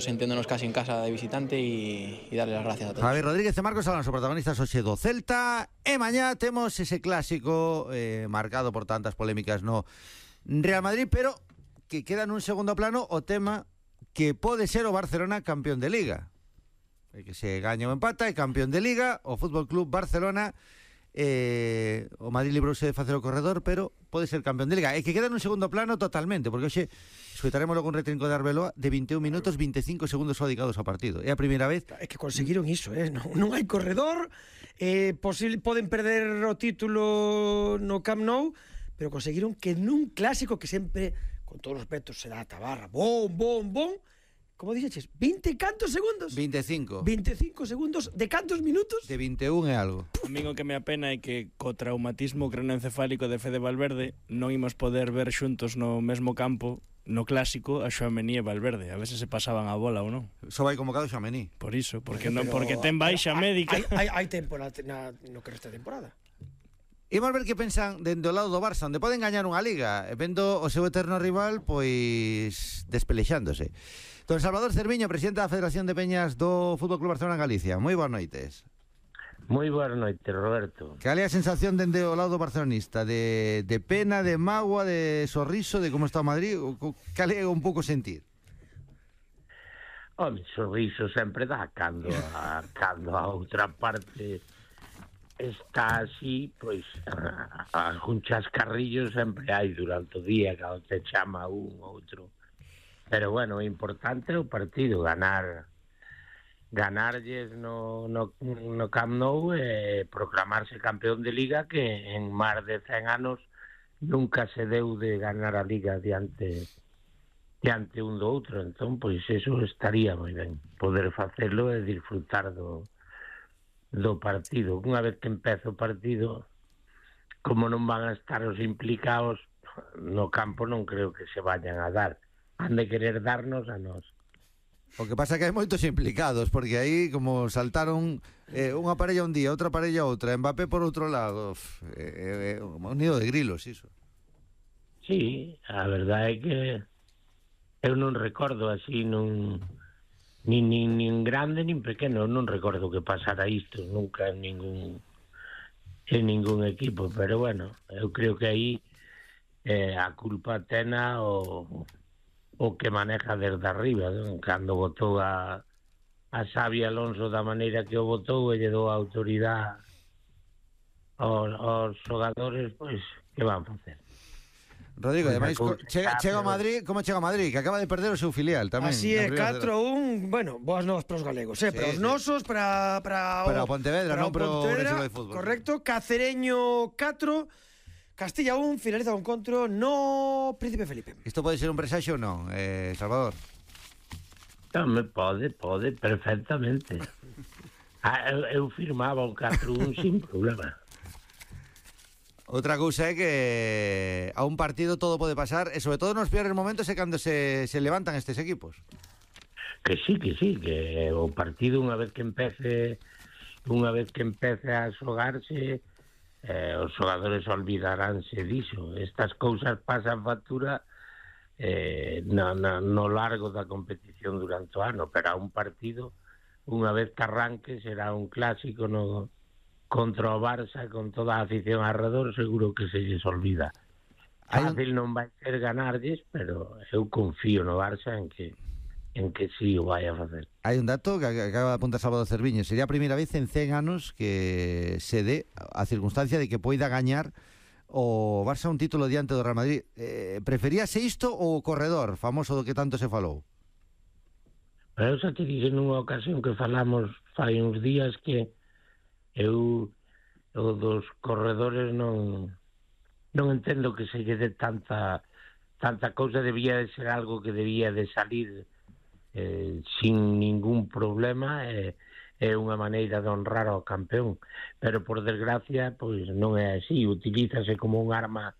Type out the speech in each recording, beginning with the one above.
sintiéndonos casi en casa de visitante y darle las gracias a todos. Javi Rodríguez e Marcos Alonso, protagonistas hoxe do Celta, e mañá temos ese clásico marcado por tantas polémicas no Real Madrid, pero que queda nun segundo plano o tema que pode ser o Barcelona campeón de Liga. Que se gaña ou empata e campeón de Liga o Fútbol Club Barcelona. O Madrid librouse de facer o corredor, pero pode ser campeón de Liga, e que queda nun segundo plano totalmente, porque hoxe escoitaremos logo un retrinco de Arbeloa de 21 minutos 25 segundos só dedicados ao partido. É a primeira vez. É que conseguiron iso, non hai corredor, poden perder o título no Camp Nou, pero conseguiron que nun clásico que sempre, con todos os respetos, se dá a tabarra, bom, como dixeches, 20 cantos segundos? 25 segundos de cantos minutos? De 21 e algo. A min o que me apena é que co traumatismo craneoencefálico de Fede Valverde non imos poder ver xuntos no mesmo campo, no clásico, a Tchouaméni e Valverde, a ver se pasaban a bola ou non. Só vai convocado Tchouaméni. Por iso, porque ten baixa médica. Hai tempo no que resta temporada. Imos ver que pensan dende o lado do Barça, onde poden gañar unha Liga, vendo o seu eterno rival pois despelexándose. Don Salvador Cerviño, presidente da Federación de Peñas do Fútbol Club Barcelona en Galicia. Moi boas noites. Moi boas noites, Roberto. Cal é a sensación dende o lado barcelonista? De pena, de mágoa, de sorriso, de como está o Madrid? Cal é un pouco sentir? Home, sorriso sempre dá cando a outra parte está así, pois algún chascarrillo sempre hai durante o día, cando te chama un ou outro. Pero bueno, o importante é o partido, ganarlles no Camp Nou e proclamarse campeón de Liga, que en máis de 100 anos nunca se deu de ganar a Liga diante un do outro. Entón, pois eso estaría moi ben, poder facelo e disfrutar do partido. Unha vez que empeza o partido, como non van a estar os implicados no campo, non creo que se vayan a dar. Han de querer darnos a nós. O que pasa é que hai moitos implicados, porque aí como saltaron unha parella un día, outra parella outra, Mbappé por outro lado, un nido de grilos, iso. Sí, a verdade é que eu non recordo así nin grande nin pequeno, non recordo que pasara isto nunca en ningún equipo, pero bueno, eu creo que aí a culpa tena o que maneja desde arriba, non? Cando botou a Xavi Alonso da maneira que o botou e lle dou a autoridade aos xogadores, pois que van facer? Rodrigo, ademais, chega a Madrid, como chega a Madrid, que acaba de perder o seu filial tamén. Así é, 4-1, bueno, boas novas para os galegos, para os nosos, para o Pontevedra, non para o Brasil de fútbol. Correcto, Cacereño 4, Castilla 1, finaliza o encontro no Príncipe Felipe. Isto pode ser un presaxo ou non, Salvador? Tambén pode, perfectamente. Eu firmaba un 4-1 sin problema. Outra cousa é que a un partido todo pode pasar, e sobre todo nos peores momentos é cando se levantan estes equipos. Que sí, que o partido unha vez que empece a xogarse, os xogadores olvidaránse diso. Estas cousas pasan factura no largo da competición durante o ano, pero a un partido, unha vez que arranque, será un clásico contra o Barça, con toda a afición alrededor, seguro que se lles olvida. Fácil non vai ser ganarlles, pero eu confío no Barça en que sí o vai a facer. Hai un dato que acaba de apuntar Salvador Cerviño. Sería a primeira vez en 100 anos que se dé a circunstancia de que poida gañar o Barça un título diante do Real Madrid. Preferíase isto ou o corredor famoso do que tanto se falou? Pero eu xa te dixen nunha ocasión que falamos fai uns días que eu dos corredores non entendo que se lle dé tanta cousa. Debía de ser algo que debía de salir sin ningún problema, é unha maneira de honrar ao campeón, pero por desgracia pois non é así, utilízase como un arma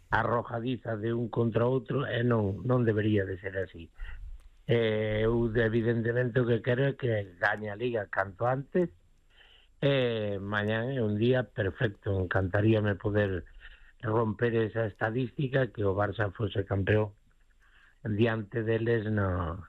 arrojadiza de un contra outro e non debería de ser así. Eu evidentemente o que quero é que gañe a Liga canto antes, e mañán é un día perfecto. Encantaríame poder romper esa estadística, que o Barça fose campeón diante deles no